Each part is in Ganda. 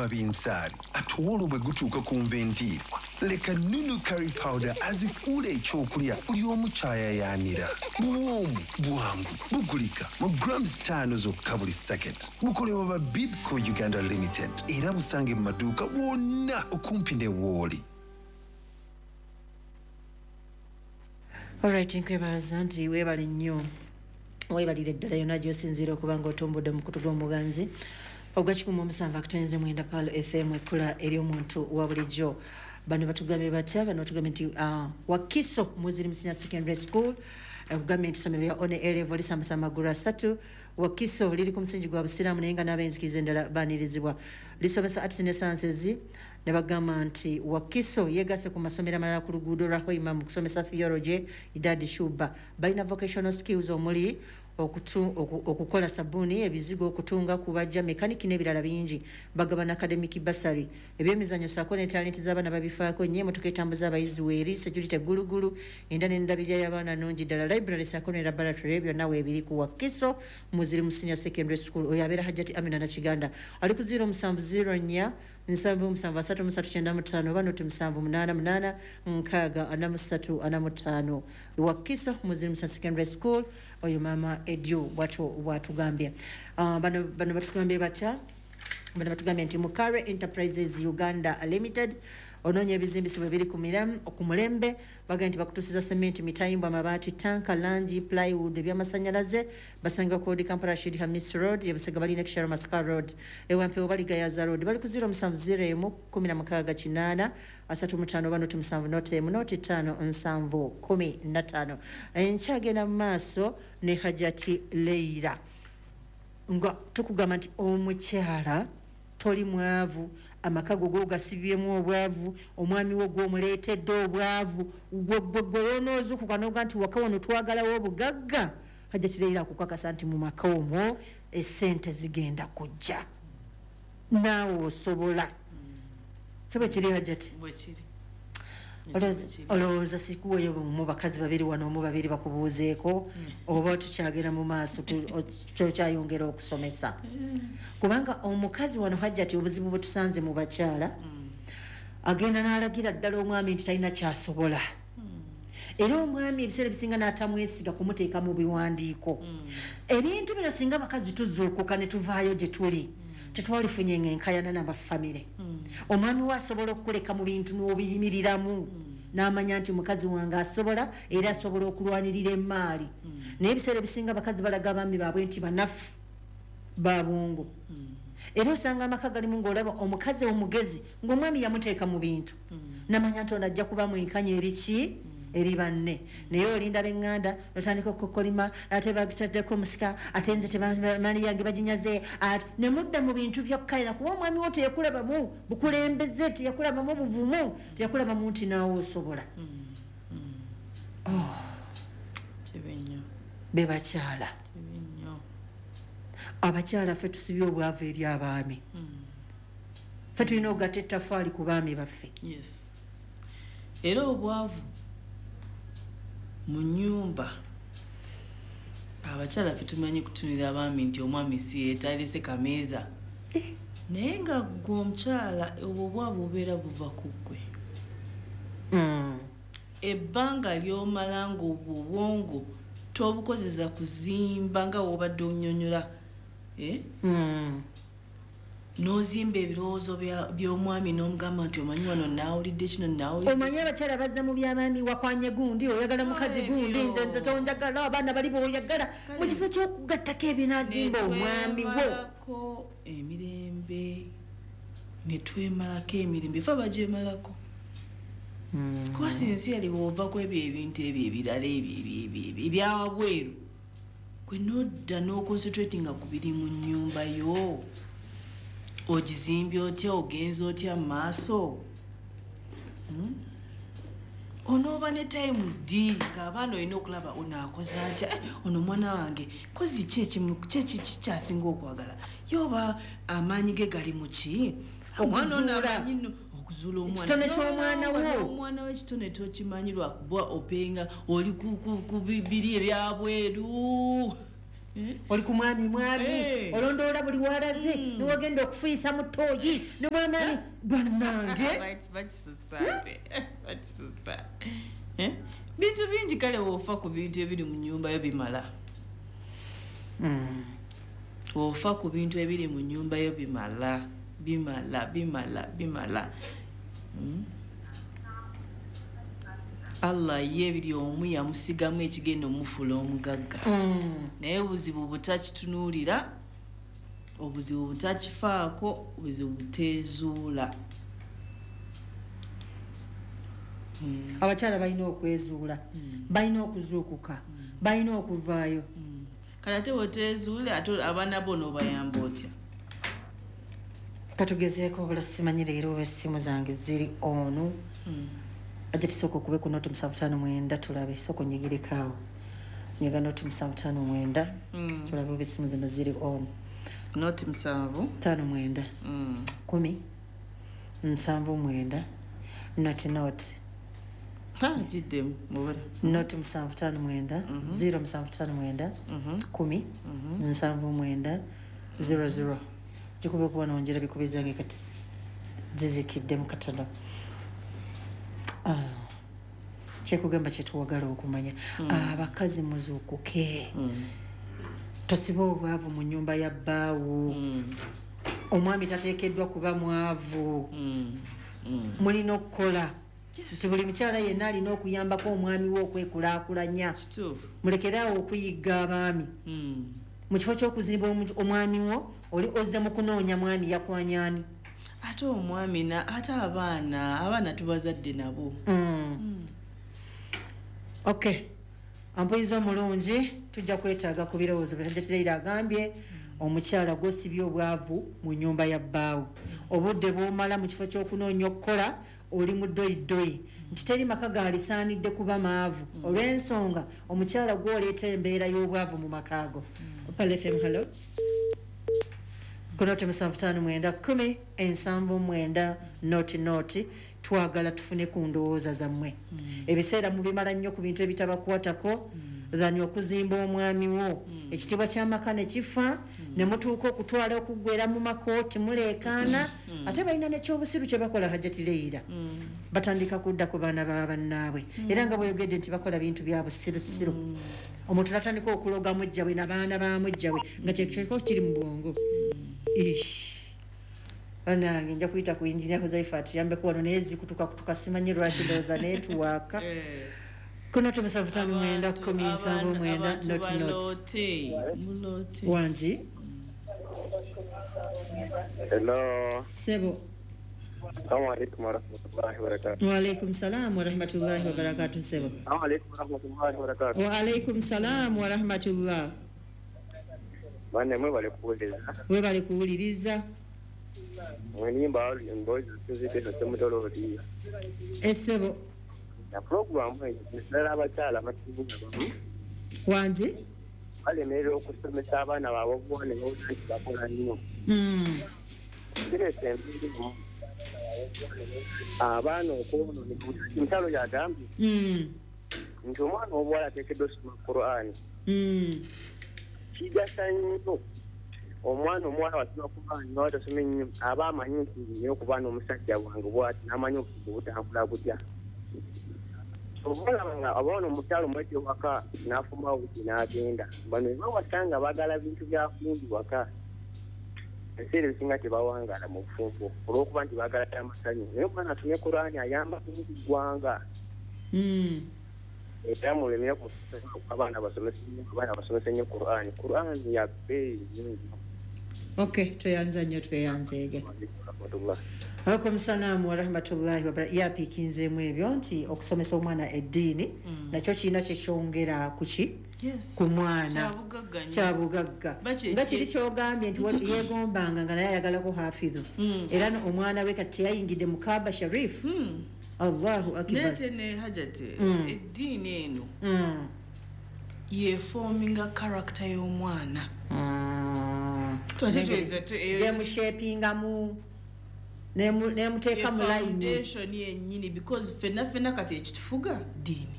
Buwooma binsaali, ate olwo bwe gutuuka ku nva endiirwa, leka Nunu curry powder azifuula ekyokulya buli omu kyayayaanira. Buwoomu, bwangu, bugulika mu grams 5 zokka buli sacket. Bukolebwa ba Bidco Uganda Limited era busange mu maduuka wonna okumpi ne wooli. Alright, nkwebaza nti weebale nnyo, weebalire ddala yonna gy'osinziira okuba nga otumbudde omukutu gw'omuganzi ogwa 107.9 Pearl FM, ekkula ery'omuntu wa bulijjo. Bano batugambye batya? Bano batugambye nti Wakiso Muslim Senior Secondary School, kugambye nti essomero lya one A level lisambasa amagulu asatu. Wakiso liri ku musingi gwa busiraamu naye nga n'ab'enzikiriza endala baanirizibwa. Lisomesa arts ne sciences. Ne bagamba nti Wakiso yeegase ku masomero amalala ku luguudo lwa Hoima mu kusomesa theology Idadi Shuba. Balina vocational skills omuli okukola sabbuuni, ebizigo, okutunga, kubajja, mekaniki n'ebirala bingi. Bagabana academic bursary, ebyemizannyo ssaako ne talenti z'abaana babifaako nnyo. Emotoka etambuza abayizi weeri, security gulugulu, enda n'endabirira y'abaana nnungi ddala. Library ssaako ne laboratory byonna weebiri ku Wakiso Muslim Senior Secondary School. Oyo abeera Hajjati Amina Nakiganda, ali ku 0704 77 33 95 oba noti 788 6 43 45. Wakiso Muslim Senior Secondary School, oyo maama Edu bwatyo bwatugambye. Bano batugambye batya? Bano batugambye nti Mukare Enterprises Uganda Limited, onoonya ebizimbisibwa ebiri ku mulembe. Bagambye nti bakutuusiza sementi, mitayimbwa, amabaati, tanka, langi, plywood, ebyamasanyalaze. Basanga kodi Kampala Rashid Hamis Road, ebusega balina Kisharo Masaka Road, ewampewo bali Gayaza Road. Bali ku 0701 16 8 35 oba noti 7 noti 1 noti 5 7 15. Enkyagenda mu maaso ne Hajati Leira nga tukugamba nti omukyala toli mwavu, amaka go gosibyemu obwavu, omwami wo gw'omuleetedde obwavu, gwe wonoozukuka n'oga nti waka wano twagalawo obugagga. Hajati Leira akukakasa nti mu maka omwo essente zigenda kujja, naawe osobola. Si bwe kiri, Hajati? Bwe kiri. Olowooza sikuweyo mu bakazi babiri wano, omu babiri bakubuuzeeko, oba tukyagenda mu maaso, kyokyayongera okusomesa? Kubanga omukazi wano, Hajjati, obuzibu bwe tusanze mu bakyala, agenda n'alagira ddala omwami nti talina kyasobola, era omwami ebiseera ebisinga n'atamwesiga kumuteeka mu biwandiiko. Ebintu bino singa bakazi tuzuukuka ne tuvaayo gye tuli, tetwalifunye ng'enkayana n'abafamire. Omwami we asobola okukuleka mu bintu n'obiyimiriramu, n'amanya nti mukazi wange asobola, era asobola okulwanirira emaali. Naye ebiseera ebisinga abakazi balaga abaami baabwe nti banafu babwongo, era osanga amaka galimu ng'olaba omukazi omugezi ng'omwami yamuteeka mu bintu, namanya nti ono ajja kuba mwenkanya eriki eri banne. Naye olinda b'eŋŋanda notandika okukolima, ate bagitaddeko omusika, ate nze tebamali yange baginyaze, ne mudda mu bintu byakkalira, kuba omwami wo teyakulabamu bukulembeze, teyakulabamu buvumu, teyakulabamu nti naawe osobola. Kibi nnyo. Be bakyala. Kibi nnyo. Abakyala ffe tusibye obwavu eri abaami. Ffe tulina okugatta ettafaali ku baami baffe. Yes, era obwavu mu nyumba, abakyala ffe tumanyi kutunira abaami nti omwami si yetalese kameeza, naye nga gwe omukyala obwo obwavu bubeera buva ku ggwe. Ebbanga ly'omala nga obwo obwongo tobukozesa kuzimba nga wobadde onyonyola, eh? N'ozimba ebirowoozo by'omwami n'omugamba nti omanyi wano naawulidde kino, naawulidde. Omanyi abakyala bazza mu byabaami, wakwanye gundi, oyagala mukazi gundi, nze tonjagala, abaana bali boyagala, mu kifo ky'okugattako ebinaazimba omwami wo. Netwemalako emirembe, netwemalako emirembe, fe abagyemalako, kuba sincerely bw'ova ku ebyo ebintu ebyo ebirala ebyo ebyo ebyawabweru, gwe nodda n'oconcentratinga ku biri mu nnyumba yo, ogizimbye otya, ogenza otya mu maaso? Onooba ne time ddi ng'abaana olina okulaba ono akoze atya? Eh, ono omwana wange kozi ki ekimu ki kyasinga okwagala ye, oba amaanyi ge gali mu ki? Omwana ono Okuzuula. amanyi nno okuzuula omwana. Ekitone ky'omwana wo. Omwana we ekitone tokimanyi lwakuba openga oli ku biri ebyabweru. Oli ku mwami mwami olondoola buli walaze niwagenda okufuuyisa mu ttooyi nimwamani bannange. Bakisusa bintu bingi. Kale woofa ku bintu ebiri mu nnyumba yo bimala. Ofa ku bintu ebiri mu nnyumba yo bimala, bimala, bimala, bimala. Allah ye biri omu yamusigamu ekigenda omufuula omugagga, naye obuzibu butakitunuulira, obuzibu butakifaako, obuzibu buteezuula. Abakyala balina okwezuula, balina okuzuukuka, balina okuvaayo. Kale ate bweteezuule, ate abaana bo n'obayamba otya? Katugezeeko obula simanyi leero oba essimu zange ziri onu. Ajja tusooka okube ku 0 759 tulabe. Sooka onyigireko awo, nyiga 0 759 tulabe oba essimu zino ziri on. 0 7 59 10 79 00. Giddemu. 0 759 0759 10 79 00. Gikube kuba nongera bikuba ezange kati zizikiddemu katono. Kyekugamba kyetuwagala okumanya, abakazi muzuukuke, tosiba obwavu mu nyumba ya bbaawo. Omwami tateekeddwa kuba mwavu. Mulina okukola nti buli mukyala yenna alina okuyambako omwami we okwekulaakulanya. Mulekeraawo okuyigga abaami. Mu kifo ky'okuzimba omwami wo, oli ozze mu kunoonya mwami yakwanyani. Ate omwami ate abaana tubazadde nabo. Ok, ampuyiza omulungi, tujja kwetaaga ku birowoozo. Hajjati agambye omukyala gwosibye obwavu mu nyumba ya bbaawo, obudde bwomala mu kifo ky'okunoonya okukola oli mu ddoyiddoyi, nti teri maka gaalisaanidde kuba maavu olw'ensonga omukyala gwoleeta embeera y'obwavu mu maka ago. Pearl FM, hello. Ku 0 759 10 79 00. Twagala tufune ku ndowooza zammwe. Ebiseera mubimala nnyo ku bintu ebitabakwatako than okuzimba omwami wo. Ekitiibwa ky'amaka ne kifa ne mutuuka okutwala okuggwera mu makooti muleekaana. Ate balina nekyobusiru kye bakola, Hajjati Leira. Batandika kudda ku baana ba bannaabwe, era nga bweyogedde nti bakola bintu bya busirusiru. Omuntu natandika okuloga mujjawe nabaana ba mujjawe nga kyekyeko kiri mu bwongo. Banange, nja kuyita ku Injinia Huzaifa atuyambeko wano, naye zikutuka kutuka, simanyi lwaki, ndowooza neetuwaaka ku 0 759 10 79 00. Wangi? Hello. Sebo. Assalamu alaikum warahmatullahi wabarakatuh. Waalaikum salam warahmatullahi wabarakatuh, sebo. Assalamu alaikum warahmatullahi wabarakatuh. Waalaikum salam warahmatullah. Bane mwebale kuwuliriza. Webale kuwuliriza. Mwenimba emboozi zituziddeko semutolooli. Esebo. Na puroguramu eyo naddala abakyala abasinga bamu Wangi? balemerera okusomesa abaana baabwe obuwa ne bawulira nti bakola nnyo. Kireeta embeera emu abaana okwonooneka. Omukyalo yagambye nti omwana obuwala ateekeddwa osoma Qur'ani. Kigasa nnyo omwana omuwala wasoma Qur'ani nawe tasoma ennyo, aba amanyi nti nina okuba n'omusajja wange bwati, n'amanyi obufumbo butambula butya. Oba nga abaana omukyalo omwete waka n'afumba buti n'agenda, bano bawasa nga baagala bintu bya kumbi waka, ebiseera ebisinga tebawangaala mu bufumbo olw'okuba nti baagala amasanyu. Naye omwana asomye Qur'ani ayamba ku ggwanga. Era mulemere ku abaana basomese nnyo, abaana basomese nnyo Qur'ani. Qur'ani ya bbeeyi nnyo. Ok, tweyanza nnyo, tweyanzeege. Rahmatullah. Alaikum salaamu warahmatullahi wabarakatuh. Yapiikinzeemu ebyo nti okusomesa omwana eddiini nakyo kirina kyekyongera kuki ku mwana. Kyabugagga nnyo. Kyabugagga. Nga kiri kyogambye nti yeegombanga nga naye ayagalako hafidhu, era omwana we kati teyayingidde mu Kaaba Sharif. Allahu akbar. Nete ne Hajati, eddiini eno yeforminga character y'omwana. Gyemushapingamu nemuteeka mu layini. Foundation yennyini, because fenna fenna kati ekitufuga ddiini.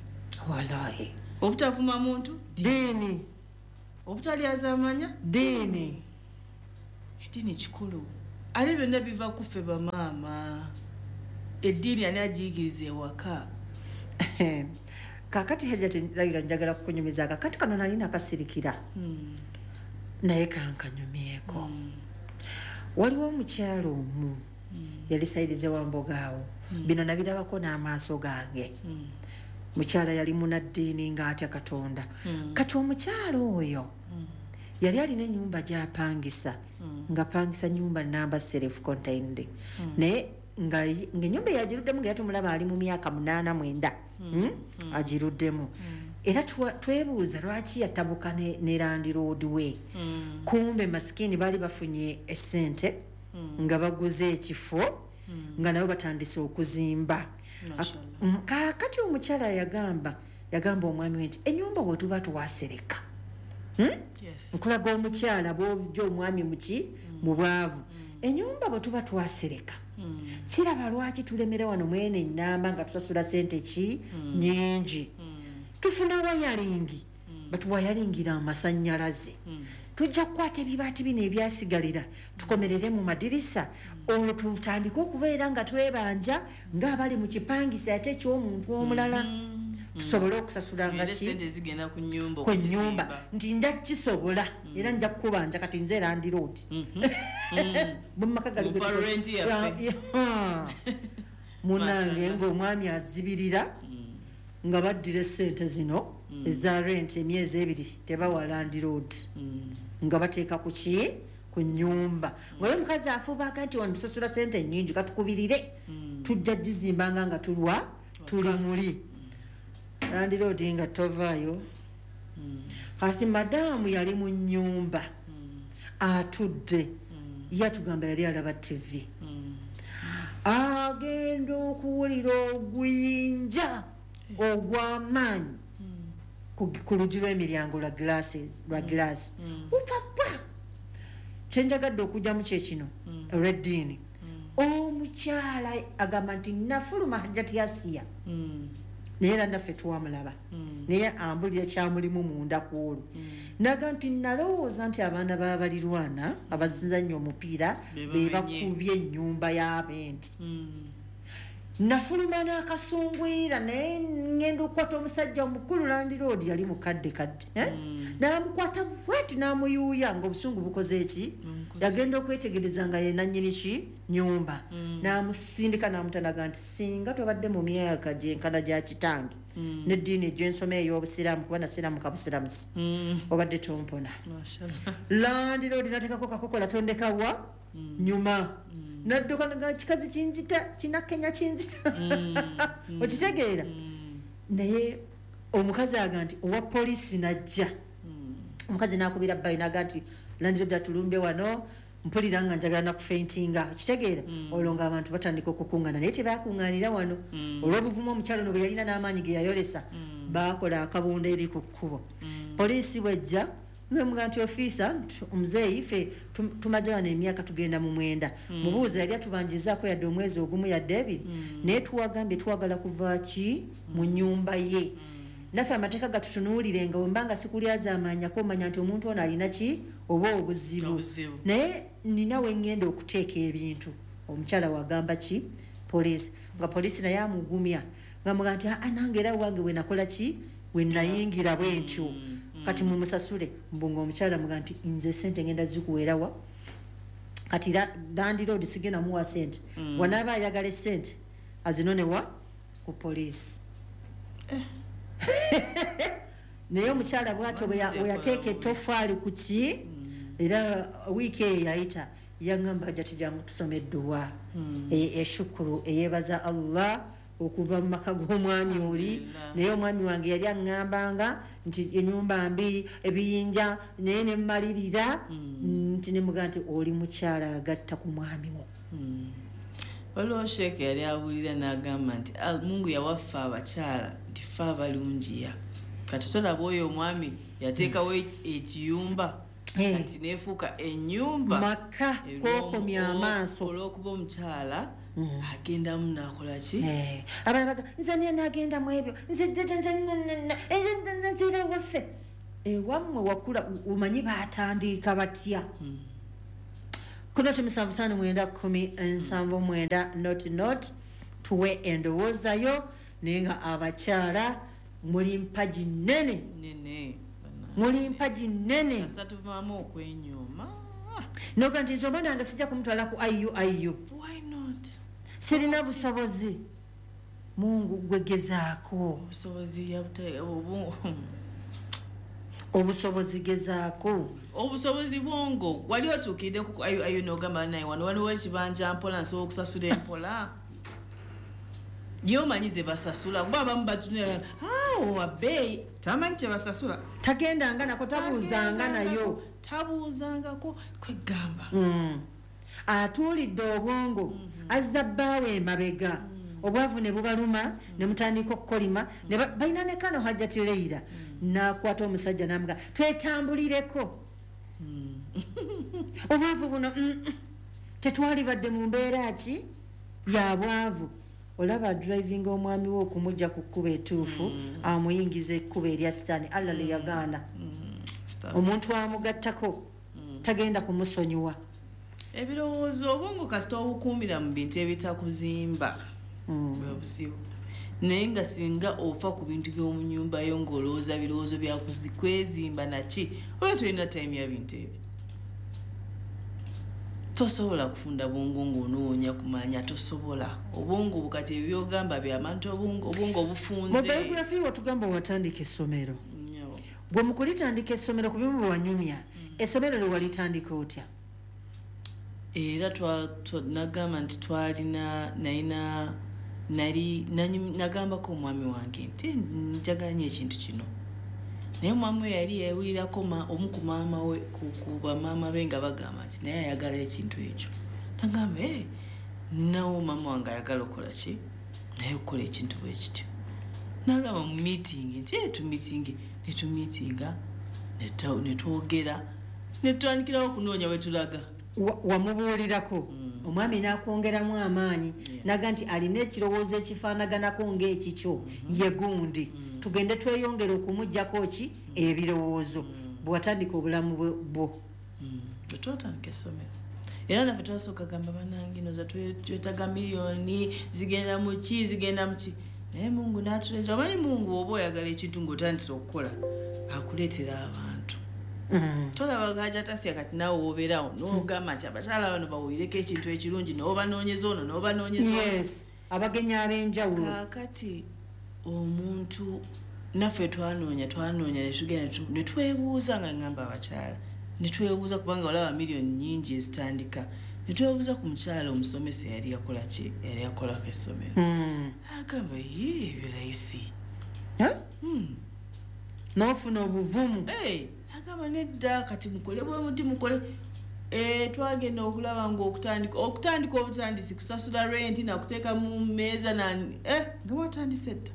Wallahi. Obutavuma muntu. Ddiini. Obutalyazaamanya Ddiini. Eddiini kikulu, ate byonna biva kuffe bamaama. Eddiini ani agiyigiriza ewaka? Kakati Hajati Layira, njagala kukunyumiza kakati kano nali nakasirikira, naye kankanyumyeko. Waliwo omukyalo omu yali sayirize wamboga awo, bino nabirabako n'amaaso gange. Mukyala yali munaddiini ng'atya Katonda. Kati omukyala oyo yali alina ennyumba gy'apangisa, ng'apangisa nyumba namba self contained, naye ng'ennyumba eyagiruddemu nga yatumulaba ali mu myaka 89, agiruddemu. Era twebuuza lwaki yatabuka ne landlord we. Kumbe masikini baali bafunye essente nga baguze ekifo, nga nabo batandise okuzimba. Kaakati omukyala yagamba omwami we nti ennyumba bwe tuba twasereka, nkulaga omukyala bw'ojja omwami muki mu bwavu, ennyumba bwe tuba twasereka, siraba lwaki tulemera wano mwene ennamba nga tusasula sente ki nyingi. Tufuna wayalingi, batuwayalingira amasannyalaze, tujja kukwata ebibaati bino ebyasigalira tukomerere mu madirisa, olwo tutandike okubeera nga twebanja ng'abali mu kipangisa ate eky'omuntu omulala, tusobole okusasula nga Era ki sente zigenda ku nnyumba ku nnyumba. okuzimba. Nti nja kisobola era nja kukubanja kati nze landlord bwe mumaka gali Mumpa rent yaffe. Munange, Mashallah. ng'omwami azibirira nga baddira essente zino eza rent, emyezi 2 tebawa landlord, nga bateeka ku ki, ku nnyumba. Ngaye omukazi afubaga nti wano tusasula sente nnyingi, katukubirire tujja gizimbanga nga tulwa tuli muli. Landlord nga tovaayo. Kati madaamu yali mu nnyumba atudde, yatugamba yali alaba TV, agenda okuwulira oguyinja ogw'amaanyi ku luggi lw'emiryango lwa glasses, lwa glass upapa. Kyenjagadde okugyamu kyekino olw'eddiini. Omukyala agamba nti nafuluma, Hajjati Yasiya, naye era naffe twamulaba, naye ambulira kyamulimu munda ku olwo, naga nti nalowooza nti abaana b'abalirwana abazannya omupiira be be bamenye. Bakubye ennyumba y'abenti. Nafuluma n'akasungwira, naye ngenda okukwata omusajja omukulu landlord, yali mukadde kadde, eh? N'amukwata bwati n'amuyuuya ng'obusungu bukoze eki. Yagenda okwetegereza nga ye nannyini ki nyumba, n'amusindika n'amutanaga nti singa tobadde mu myaka gyenkana gya kitange n'eddiini egy'ensoma ey'obusiraamu, kuba nasiraamuka busiramusi, obadde tompona. Mashallah. Landlord natekako kakokola tondekawa nyuma, nadduka nga kikazi kinzita, kinakenya kinzita, okitegeera? Naye omukazi aga nti owa poliisi najja, omukazi nakubira bbayi naga nti landlord atulumbe wano, mpulira nga njagala nakufentinga, okitegeera? Olwo ng'abantu batandika okukuŋŋaana, naye tebakuŋŋaanira wano olw'obuvumu omukyalo no bwe yalina n'amaanyi ge yayolesa. Baakola akabondo eri ku kkubo. Poliisi bwejja ngemuga nti ofiisa, omuzeeyi ffe tumaze wano emyaka tugenda mu 9, mubuuza yali atubanjizaako yadde omwezi ogumu yadde 2, naye tuwagambye twagala kuva ki mu nnyumba ye. Naffe amateeka gatutunuulire nga wembanga sikulyazaamaanyako omanya nti omuntu ono alina ki oba obuzibu. Obuzibu. Naye nina we ŋŋenda okuteeka ebintu. Omukyala wagamba ki poliisi, nga poliisi naye amugumya nga muga nti aa nange era wange bwe nakola ki, bwe nayingira bwe ntyo, kati mumusasule. Mbu nga omukyala muga nti nze sente ngenda zikuweerawa kati landlord sigenda muwa sente, wanaaba ayagala esente azinonewa ku poliisi. Naye omukyala bwatyo bwe yateeka ettofaali ku ki, era wiiki eyo yayita yaŋŋamba ajja tijangu tusome edduwa eshukuru eyeebaza Allah okuva mu maka g'omwami oli. Alhamdulillah. Naye omwami wange yali aŋŋambanga nti ennyumba mbi, ebiyinja, naye ne mmalirira nti nemugaa nti oli mukyala agatta ku mwami wo. Waliwo sheeke yali abuulira n'agamba nti Mungu yawaffe abakyala nti ffe abalungiya, kati tolaba oyo omwami yateekawo ekiyumba kati neefuuka ennyumba maka kwokomya amaaso. Olw'okuba omukyala agendamu n'akola ki? Abalala baga nze niye nagenda mu ebyo, nze nze nze nze nze nze nze nze waffe. Ewammwe wakula omanyi baatandika batya? Ku 0 7 5 9 10 79 00 tuwe endowoozayo. Naye nga abakyala muli mpagi nnene, Nene. muli mpagi nnene. Kasatuvaamu okwenyooma. Noga nti nze omwana wange sijja kumutwala ku IUIU. Why not? Sirina busobozi. Mungu gwegezaako. Obusobozi Obusobozi gezaako. Obusobozi bwongo wali otuukidde ku ayo nogamba naye wano waliwo ekibanja mpola, nsobola okusasula empola. Ye omanyi ze basasula, kuba abamu batunula wabbeeyi, tamanyi kye basasula. Tagendanga nako, tabuuzanga nayo. Tabuuzangako, kwegamba. Atuulidde obwongo, azza bbaawe emabega, obwavu ne bubaluma, ne mutandika okukolima ne balina ne kano Hajjati Leira n'akwata omusajja n'amuga twetambulireko obwavu buno, tetwalibadde mu mbeera ki ya bwavu. Olaba driving omwami we okumujja ku kkubo etuufu, amuyingiza ekkubo erya sitaani. Allah lye yagaana. Omuntu amugattako tagenda kumusonyiwa. Ebirowoozo, obwongo kasita obukuumira mu bintu ebitakuzimba, bwe buzibu. Naye nga singa ofa ku bintu by'omu nnyumba yo ng'olowooza birowoozo bya kwezimba naki, oba tolina time ya bintu ebyo, tosobola kufunda bwongo ng'onoonya kumanya, tosobola. Obwongo bukati ebyogamba byabantu, obwongo obufunze. Mu biography watugamba watandika essomero. Nnyo. Bwe mu kulitandika essomero, ku bimu bwe wanyumya, essomero lwe walitandika otya? Era nagamba nti twalina, nalina, nali, nagambako omwami wange nti njagala nnyo ekintu kino. Naye omwami we yali yawulirako omu ku maama we, ku bamaama be nga bagamba nti naye ayagala ekintu ekyo. Nagamba, nawo maama wange ayagala okukola ki? Naye okukola ekintu bwe kityo. Nagamba mu meeting nti, tumeeting, ne tumeetinga, ne twogera, ne tutandikirawo okunoonya we tulaga. Wamubuulirako omwami n'akwongeramu amaanyi, naga nti alina ekirowoozo ekifaanaganako ng'ekikyo, ye gundi, tugende tweyongere okumuggyako ki ebirowoozo. Bwe watandika obulamu bwo. Bwe twatandika essomero, era naffe twasooka gamba bannange noza twetaaga miliyoni zigenda mu ki, zigenda mu ki. Naye Mungu n'atuleetera. Omanyi Mungu oba oyagala ekintu ng'otandise okukola, akuleetera abantu. Tolaba Hajjati Asiya kati naawe w'obeerawo n'ogamba nti abakyala bano bawulireko ekintu ekirungi, n'obanoonyeza ono, n'obanoonyeza ono. Yes, abagenyi ab'enjawulo. Kaakati omuntu naffe twanoonya, twanoonya ne tugenda ne twebuuza, nga ngamba abakyala, ne twebuuza kubanga olaba miliyoni nnyingi ezitandika, ne twebuuza ku mukyala omusomesa eyali yakola ki, eyali yakolako essomero. Agamba, ye, ebyo layisi. Huh? N'ofuna obuvumu. Hey, agamba nedda, kati mukole bwe muti, mukole. Twagenda okulaba ng'okutandika obutandisi kusasula renti na kuteeka mu mmeeza na, nga watandise dda.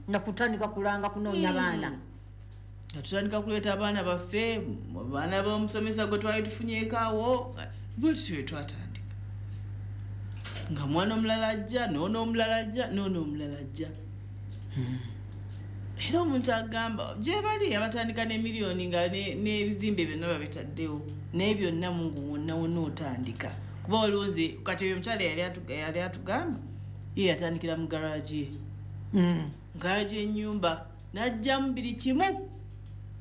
Na kutandika kulanga kunoonya baana. Nga tutandika kuleeta abaana baffe, abaana b'omusomesa gwe twali tufunyeeko awo, bwe tutyo bwe twatandika. Nga mwana omulala ajja, n'ono omulala ajja, n'ono omulala ajja. Era omuntu agamba gye bali abatandika ne miliyoni nga n'ebizimbe byonna babitaddewo, naye byonna Mungu wonna wonna otandika. Kuba waliwo nze kati oyo omukyala yali atugamba ye yatandikira mu garage ye. Garage y'ennyumba n'aggyamu buli kimu.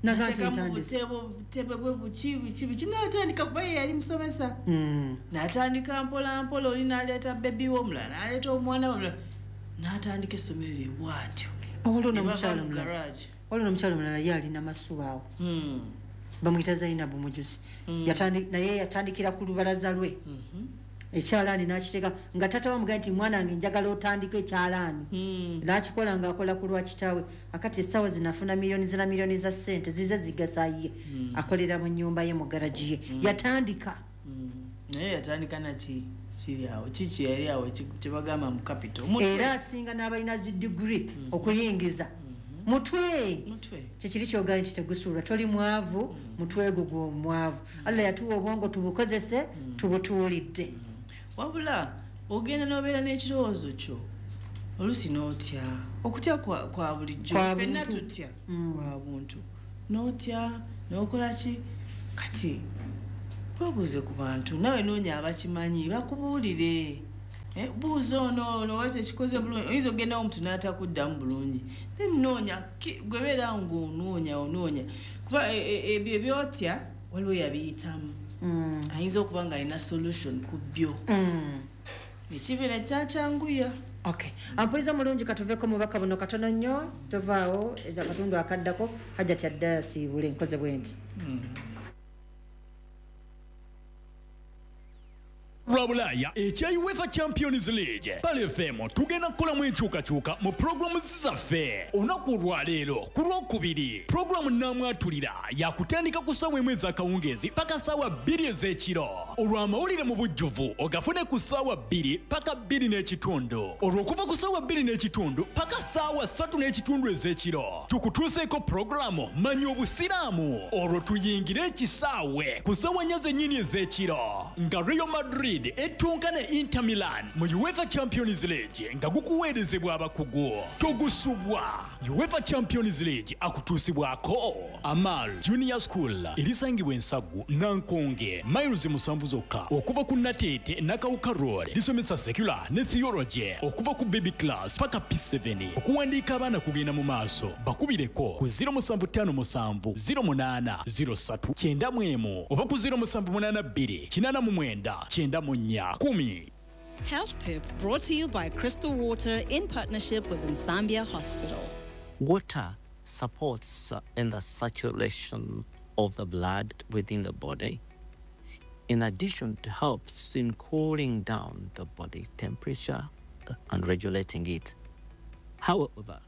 Naga nti N'ateekamu ntandise. butebe bwe buki, buki, buki, n'atandika kuba ye yali musomesa. N'atandika mpola mpola, oli n'aleeta bebi we omulala, n'aleeta omwana we omulala, n'atandika essomero lye bw'atyo. Waliwo Ne bava n'omukyala mu omulala. garage. Waliwo n'omukyala omulala ye alina masuba awo. Bamuyita Zainabu Mujuzi. Naye yatandikira ku lubalaza lwe. Ekyalaani n'akiteeka nga taata we amugamba nti mwana wange njagala otandike ekyalaani. N'akikola ng'akola ku lwa kitaawe. Akati essaawa zino afuna miliyoni zina miliyoni za ssente zize zigasa ye. Akolera mu nnyumba ye mu garagi ye. Yatandika. Naye yatandika naki kiri awo, kiki yali awo kye bagamba mu capital. Mutwe. Era asinga n'abalina zi degree okuyingiza. Mutwe. Mutwe. Kyekiri ky'ogambye nti tegusuulwa, toli mwavu, mutwe gwo gw'omwavu. Allah yatuwa obwongo tubukozese, tubutuulidde. Wabula ogenda n'obeera n'ekirowoozo kyo, oluusi n'otya. Okutya kwa bulijjo. Kwa Ffenna buntu. tutya. Kwa buntu. N'otya, n'okola ki? Kati weebuuze ku bantu, nawe noonya abakimanyi bakubuulire. Buuza ono ono oba tekikoze bulungi, oyinza okugendawo omuntu n'atakuddamu bulungi. Then noonya, gwe beera ng'onoonya onoonya, kuba ebyo ebyotya waliwo yabiyitamu. Ayinza okuba ng'alina solution ku byo. Ekibeera kyakyanguya. Okay. Ampuliza mulungi, katuveko mubaka buno katono nnyo, tovaawo eza katundu akaddako Hajjati adda asiibule nkoze bwe nti. Lwa Bulaaya ekya UEFA Champions League, Pearl FM tugenda kukolamu enkyukakyuka mu pulogulaamu zaffe. Olunaku olwaleero ku Lwokubiri, pulogulaamu Naamwatulira yakutandika ku ssaawa 1 ez'akawungeezi paka ssaawa 2 ez'ekiro. Olw'amawulire mu bujjuvu ogafune ku ssaawa 2 paka 2:15. Olw'okuva ku ssaawa 2:15 paka ssaawa 3:15 ez'ekiro, tukutuuseeko pulogulaamu Manya Obusiraamu. Olwo tuyingire ekisaawe ku ssaawa 4 zennyini ez'ekiro nga Real Madrid etunka ne Inter Milan mu UEFA Champions League nga gukuweerezebwa abakugu. Togusubwa. UEFA Champions League akutuusibwako Amal Junior School erisangibwa Ensaggu Nankonge, miles 7 zokka okuva ku Nateete Nakawuka Road. Lisomesa secular ne theology okuva ku baby class paka P7. Okuwandiika abaana kugenda mu maaso, bakubireko ku 0757 08 03 91 oba ku 0782 89 94 10. Health tip brought to you by Crystal Water in partnership with Nsambya Hospital. Water supports in the circulation of the blood within the body. In addition, it helps in cooling down the body temperature and regulating it. However,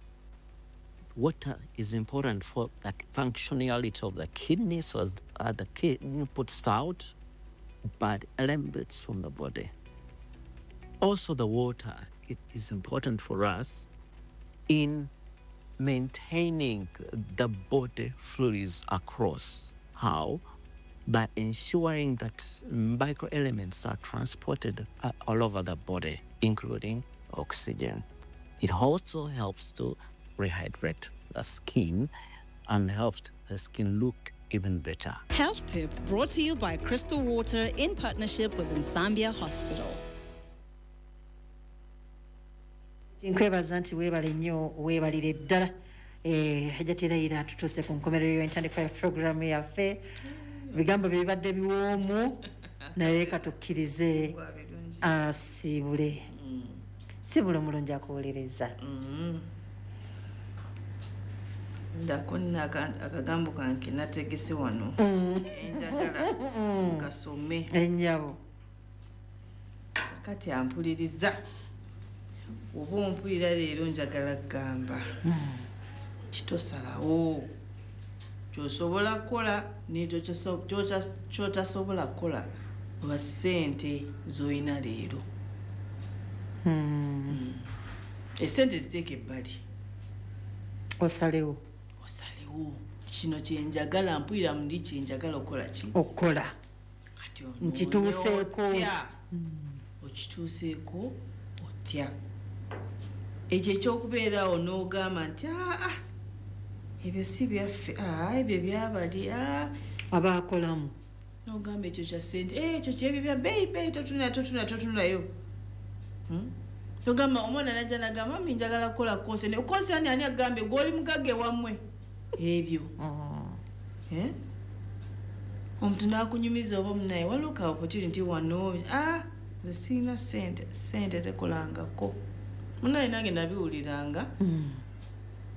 water is important for the functionality of the kidney, so the kidney puts out bad elements from the body. Also, the water, it is important for us in maintaining the body fluids across. How? By ensuring that microelements are transported all over the body, including oxygen. It also helps to rehydrate the skin and helps the skin look even better. Health tip brought to you by Crystal Water in partnership with Nsambya Hospital. Nkwebaza nti weebale nnyo, weebalire ddala. Hajjati Leila, tutuuse ku nkomerero y'entandikwa ya puroguramu yaffe. Ebigambo bye bibadde biwoomu, naye katukkirize asiibule. Siibule omulungi akuwuliriza. Ndako nno akagambo kange nategese wano. Enjagala kasome. Ennyabo. Kati ampuliriza. Oba ompulira leero njagala kugamba kitosalawo ky'osobola kukola ne ky'otasobola kukola lwa ssente z'olina leero. Essente ziteeka ebbali. Osalewo. Osalewo. Kino kye njagala, mpulira muli kye njagala okukola ki? Okukola. Kati Nkituuseeko. otya? Okituuseeko otya? Ekyo ekyokubeerawo n'ogamba nti aa ebyo si byaffe, aa ebyo byabali, aa Abaakolamu. N'ogamba ekyo kya ssente, ekyo kyebyo bya bbeeyi bbeeyi, totuna totuna totunayo. Togamba omwana najja n'agamba mami njagala kukola course ne course ani ani agambye gw'oli mugagga ewammwe ebyo. Omuntu n'akunyumiza oba munaye waliwo ka opportunity wano, nze sirina ssente, ssente tekolangako. Munaye nange nabiwuliranga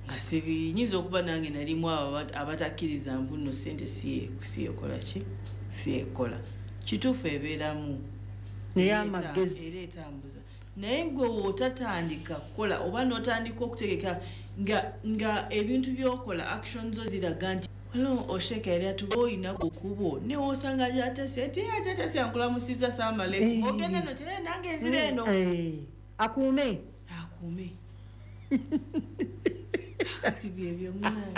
nga sibi, nyinza okuba nange nalimu abo abatakkiriza mbu nno ssente si ekola ki, si ekola. Kituufu ebeeramu. Naye amagezi. Era etambuza. Naye gwe w'otatandika kukola oba n'otandika okutegeka nga ebintu by'okola action zo ziraga nti waliwo Osheka yali atuba olina okubo ne w'osanga gy'atase nti agyatase ankulamusizza salaamu aleikum. Ogenda eno nti nange nzira eno. Akuume. Akuume. Kati byebyo munaye.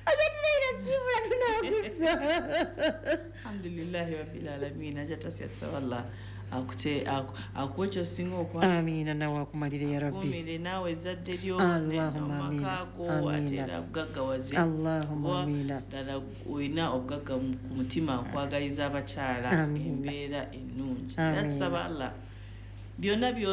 Hajjati Leila siibula tunakusa. Alhamdulillahi rabbil alamin. Hajjatasi atusaba Allah Akuwa ekyosinga okwagala. Amiina, nawe akumalire ya rabbi. Akuumire naawe ezzadde lyo Allahumma amiina. amaka go, ate Amiina. era akugaggawaze. Allahumma Kuba amiina. ddala olina obugagga ku mutima, akwagaliza abakyala Amiina. embeera ennungi. Amiina. Era tusaba Allah byonna.